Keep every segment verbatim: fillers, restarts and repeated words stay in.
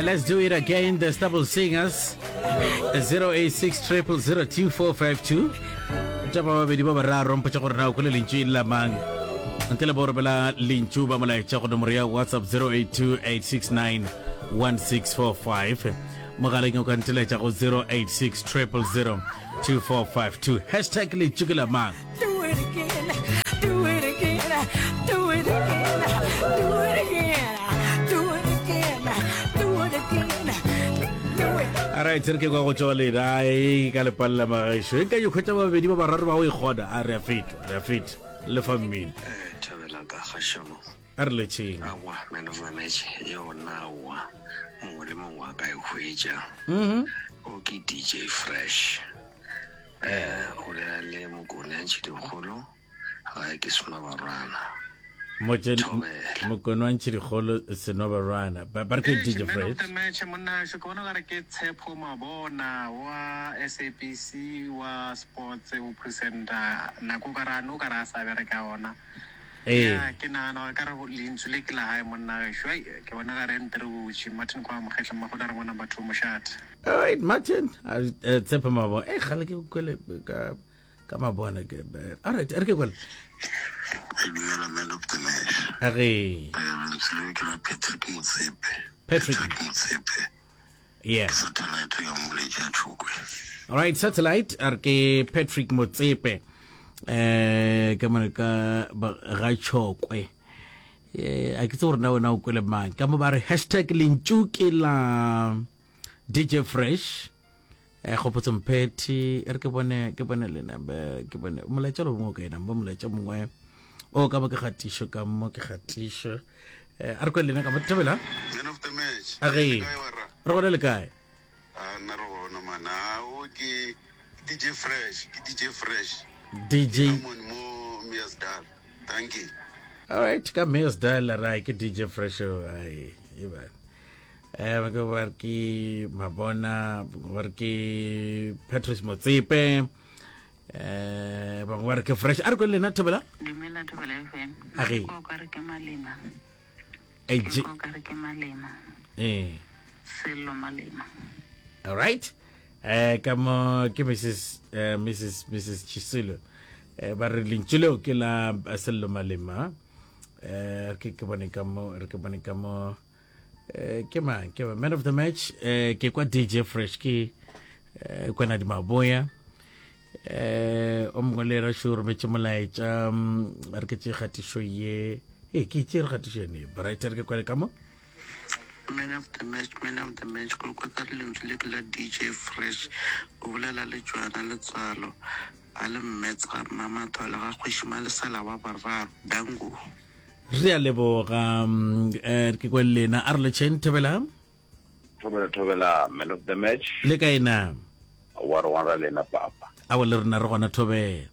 Let's do it again, the Stubble Singers. zero eight six triple zero two four five two. Tša ba babedi ba bararo, mpotša gore na o kwele lentšu e la mang. Ntle le bo romela lentšu ba molaetša go nomoro ya WhatsApp zero eight two eight six nine one six four five. Mogaleng o ka nteletša go zero eight six triple zero two four five two. Hashtag lentšu ke la mang. Do it again, do it again, do it again, do it again, do it again, do it again, do it. All right, re ke kwa go tšwa lena e ka lepalela magaešo. E ka ikgwetša babedi ba bararo ba go ikgona. A re a feta, re a feta. Le fa mmino. Eh, thabela ka kgašomo. A re letšeng. Aowa, man of the match yona aowa, mongwe le mongwe a ka e hwetša. Mhm. O ke D J Fresh. Eh, o bolela le Mokone a Ntšhidikgolo, gae ke Senobarwana. Motse- Thobela. Mokone wa Ntšhidikgolo, Senobarwana. Ba, ba re ke Eish, D J man of Fresh. the match, monna, ke bona ka re ke Tshepo Mabona wa S A B C wa sports o presenter. Nako ka ra no ka ra sa bereka ona. Ee. Ya, ke nagana gore ka re lentšu le ke la gae monna gešo. Ai, ke bona ka re nte re botše. Martin kwa Mokgetle, mmago re ngwana batho mošate. All right, Martin. A, eh, Tshepo Mabona. Eh, gale ke kwele ka, ka Mabona ke, eh, all right, re ke kwele. Dumela, man of the match. A re. Eh, lentswe le ke la Patrick Motsepe. Patrick. Patrick Motsepe. Yeah. Ke satellite ka moletši ya Tšhokwe. All right, satellite a re ke Patrick Motsepe. Eh, ka mone ka ba, ga Tšhokwe. Eh, a ke tse gore na wena o kwele mang. Ka mo ba re hashtag lentšu ke la D J Fresh. Eh, Kgopotso Mphethi, e re ke bone, ke bone lena, be, ke bone molaetša lo mongwe ka ena, bo molaetša mongwe o ka mo ke kgatišo, ka mo ke kgatišo. Eh, a re kwe lena ka mo thobela. Man of the match. A ge. Le kae warra? Re gona le kae? A nna re gona man. A o ke D J Fresh, ke D J Fresh. D J. Ke Amon mo Meyersdal. Thank you. All right, ka Meyersdal ra ke D J Fresh o, ai, e ba. Eh, ba ke ba re ke Mabona, ba re ke Patrice Motsepe. Eh, ba ba re ke Fresh. A re kwe lena thobela? Dumela Thobela F M. A re. Ke ka re ke Malema. Eh, Ke J- ka re ke Malema. Eh. Sello Malema. All right. Eh, ka mo ke Missus, eh, Missus, Missus Chisilo. Eh, ba re lentšu leo ke la Sello Malema. Eh, ke ke bone ka mo, re ke bone ka mo. Eh, ke mang? Ke man of the match. Eh, ke kwa D J Fresh ke, eh, kwana di Maboya. Eh, o mongwe le ra sho rometše molaetša, mm, re ke tše kgatišo ye. Eh, ke tše re kgatišo yone. Bright, re ke kwale ka mo. Man of the match, man of the match, go kwa ka lentswe le ke la D J Fresh, o bolela le Joana Letswalo, a le mmetsa Mmamatho le ga Kgoši Malesela wa boraro, dango. Re a leboga, mm, eh, ke kwe lena, a re le tšheng, Thobela? Thobela, Thobela, man of the match. Le kae na? Wa re gona lena, papa. Aowa, le rena re gona, Thobela.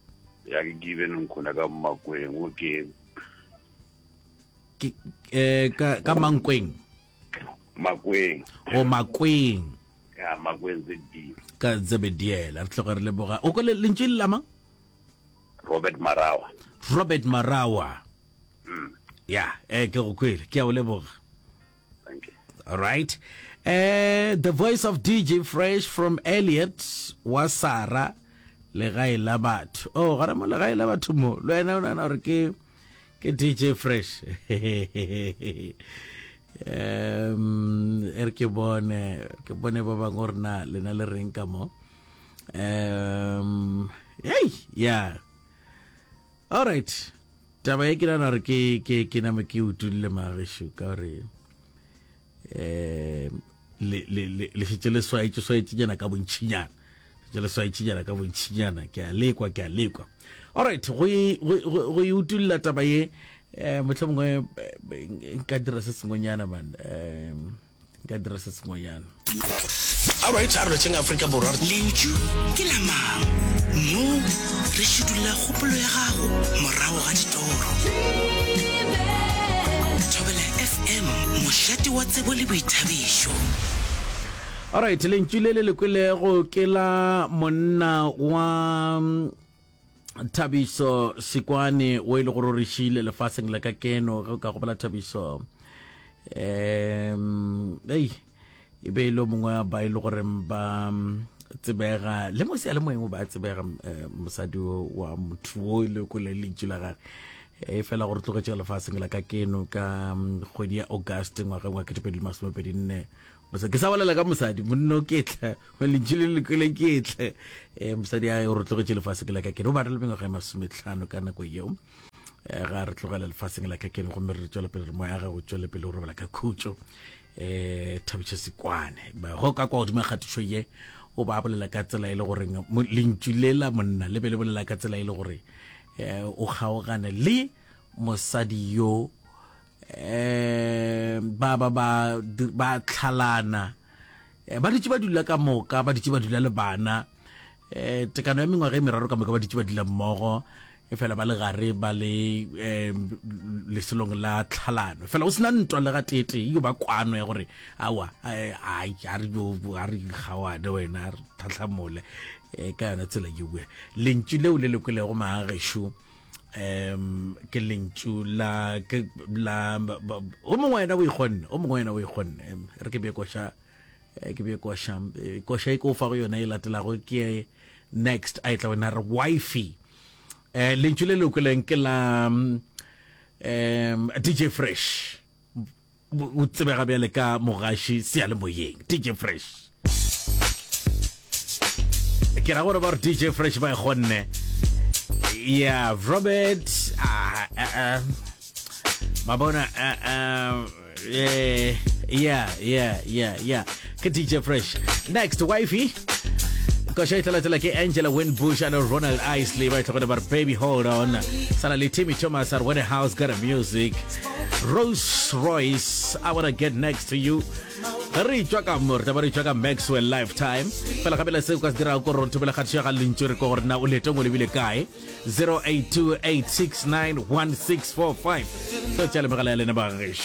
Ya ke Given Nkhuna ka Makweng, o ke Ke, eh, ka, ka Mankweng. Makweng. O Makweng. Ya, Makweng Z D. Ka Zebediela, re tloga re leboga. O kwele lentšu le la mang? Robert Marawa. Robert Marawa. Mm. Ya, eh, ke go kwele, ke a o leboga. Thank you. All right. Eh, the voice of D J Fresh from Elliot wa Sara, legae la batho. Oh, gona mo legae la batho mo. Le wena o nahana gore ke, ke D J Fresh. Um, e re ke bone, ke bone ba bangwe gore na lena le reng ka mo. Um, hey, yeah. All right. Taba e ke nahana gore ke, ke, ke name ke utulle magešo ka gore, eh, le, le, le, le šetše le swaetše, swaetše nyana ka bontšinyana. Šetše le swaetše nyana ka bontšinyana. Ke a lekwa, ke a lekwa. All right, go e, go, go, go e utulla taba ye, eh, mohlomongwe, eh, nka dira se sengwenyana, man. Eh, nka dira se sengwenyana. All right, a re lotšheng Afrika Borwa. Lentšu ke la mang? Mo re šidulla kgopolo ya gago morago ga ditoro. Thobela F M, mošate wa tsebo le boithabišo. All right, lentšu le le le kwelego ke la monna wa Thabiso Sikwane, o e le gore o re šile lefaseng la ka keno, ge o ka gopola Thabiso. Em, ei, E be e le mongwe wa ba e le goreng ba mm, tsebega le mo seyalemoyeng o ba tsebega eh, mosadi o wa motho o e le kwele lentšu la gage e fela gore tlogetše lefaseng la ka keno ka mm, kgwedi ya August ngwageng wa ketepedi le masomepedi nne. Mosadi ke sa bolela ka mosadi monno ke tle lentšu le le kwele ke tle um mosadi a o re tlogetše lefaseng la ka keno o ba re le mengwaga e masometlhano ka nako yeo eh, ga re tlogela lefaseng la ka keno gomme re tswela pele re moya ga go tswele pele go robala ka khutšo um thabiša sekwane go ka kwa godimo kgatišo ye o ba bolela ka tsela e le goreng lentšu le la monna le be le bolela ka tsela e le gore um o kgaogane le mosadi yo um ba ba ba ba tlhalana eh, ba dutše ba dula ka moka ba dutše ba dula le bana um tekano ya mengwaga e meraro ka moka ba dutše ba dula mmogo e fela ba le gare ba le um leselong la tlhalano fela o sena ntwa le ga teetee yo ba kwano ya gore awa ai a re a re gawane wena a re tlhatlhamole um ka yona tsela yewe lentšu leo le le kwelego maagešo um ke lentšu la ke la o mongwe wena o ikgonne o mongwe wena o ikgonne re ke bee koša eh, ke bee koša eh, koša e ke o fa go yona e latelago ke next a e tla wena re wifi eh lentšu le le kweleng ke la um DJ Fresh o tsebega bjale ka mogaši seyalemoyeng DJ Fresh ke ra gore ba re DJ Fresh ba e kgonne yeah Robert uh, uh, uh, mabona uh, uh, yeah yeah yeah yeah yeah ke DJ Fresh next wifey koša e tla ke Angela Winbush and Ronald Isley ba itlhogone ba re baby hold on sala le Timmy Thomas are when the house got a music Rose Royce I wanna get next to you ge re tšwa ka mo re tla ba re tšwa ka Maxwell Lifetime fela gape le se o ka se dirago ko rontho pele kgatišo ya ga lentšu re ko gore na o leetong o lebile kae zero eight two eight six nine one six four five tlo tšea le megala ya lena ba gešo.